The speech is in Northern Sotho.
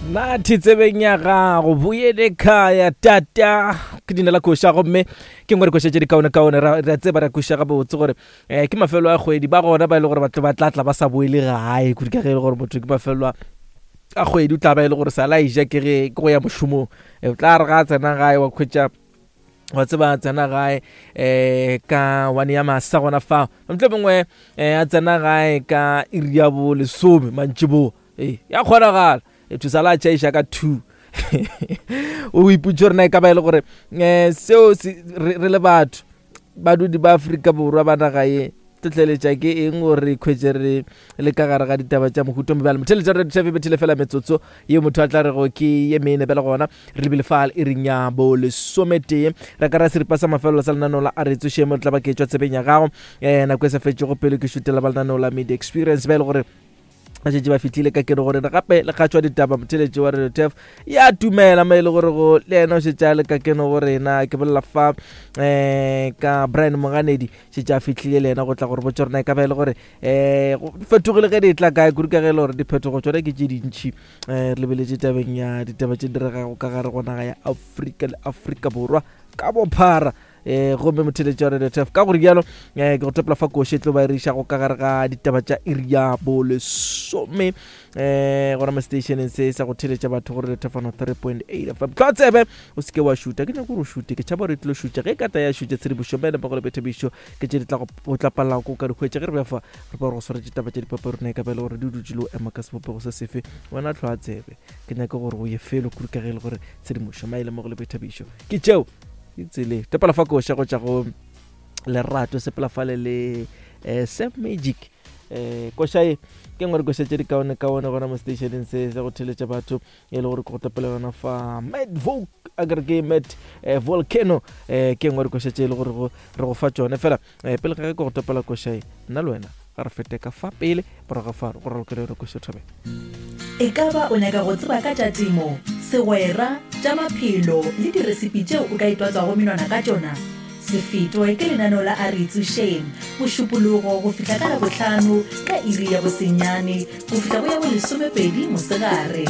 Nathi tsebeng ya gago boyele khaya tata ke dina la koša gomme ke ngwe re koša tše di kaone-kaone ra re a tseba ra kweša gabotse gore um ke mafelo a kgwedi ba gona ba e le gore batho ba tla tla ba sa boele gae kudu ka ge e le gore motho ke mafelo a kgwedi o tla ba e le gore sa la ija ke ge ke go ya mošomong o tla re ga a tsena gae wa khwetša wa tseba tsena gae um ka one ya masa gona fao ntle mongwe um a tsena gae ka iri ya bo lesome mantšiboa ee ya kgonagala e thusa la tšhaiša ka two o iputse gore na e ka ba e le gore um seo re le batho badudi ba Afrika Borwa ba naga ye tlhotlheletša ke eng gore re ikhwetše re le ka gare ga ditaba tša mohuto mobjalo motheletša re tšhafe bethile fela metsotso ye motho a tla rego ke ye mene bjale gona re lebile fa e reng ya bo lesometee re ka ra seripa sa mafelelo sa lenaneo la a re tsoše mo tla ba ke tšwa tsebeng ya gago um nako e sa fetšego pele ke šutela ba lenaneo la media experience ba e le gore ba šetše ba fihlile ka keno gore gape le kgatšwa ditaba motheletši wa radio tef ya tumela mo e le gore go le yena o šetše a le ka keno go rena ke bolela fa um ka brian moganedi šetše a fihlile le yena go tla gore botsa rena e ka ba e le gore um fetogile ge di tla kae kudu ka ge e le gore diphetogo tsone ke tše dintšhi um re lebeletše tabeng ya ditaba tše diregago ka gare go naga ya afrika le afrika borwa ka bophara um gomme motheletši wa radio tf ka gore bjalo um ke go topela fa koši e tlo ba e re išago ka gare ga ditaba tša iri ya bolesome um gona mo stationeng se sa go theletša batho go radio tfano 3.8 fm tlwa tsebe o seke wa šuta ke nyako gore o šute ke tšhaba gore e tlilo šutša ge e kata ya šutša tshedimošo mene mmogo le boithabišo ke tše di tla go tla palelago ko ka di hwetša ge re bja fa re ba gore go swaretše taba tša dipape rona e ka ba e le gore di dutše le o ema ka sebopego se sefe wena tlhwa tsebe ke nyaka gore o ye felo kudu ka ge e le gore tshedimošo maele mmogo le boithabišo ke tšeo ke tsele topela fa koša go tša go lerato sepela fale le eh, sam magic eh koša e ke ngwe re koša tše di kaone kaone gona mo stationeng se sa go theletša batho e le gore ke go topela yona fa mad voc a kere ke mad eh, volcano eh ke ngwe re koša tše e le gore re go fa tšone fela eh, pele ga ge ke go topela koša e nna le wena ga re fete ka fa pele morago ga fa go ralokele yona koša thabeng E ka ba o nyaka go tseba ka tša temo, segwera, tša maphelo le diresipi tšeo o ka itwatswago menwana ka tšona? Se fetwe ke lenaneo la A Re Itsošeng, Mošupologo go fihla ka Labohlano ka iri ya bosenyane go fihla go ya bolesomepedi mosegare.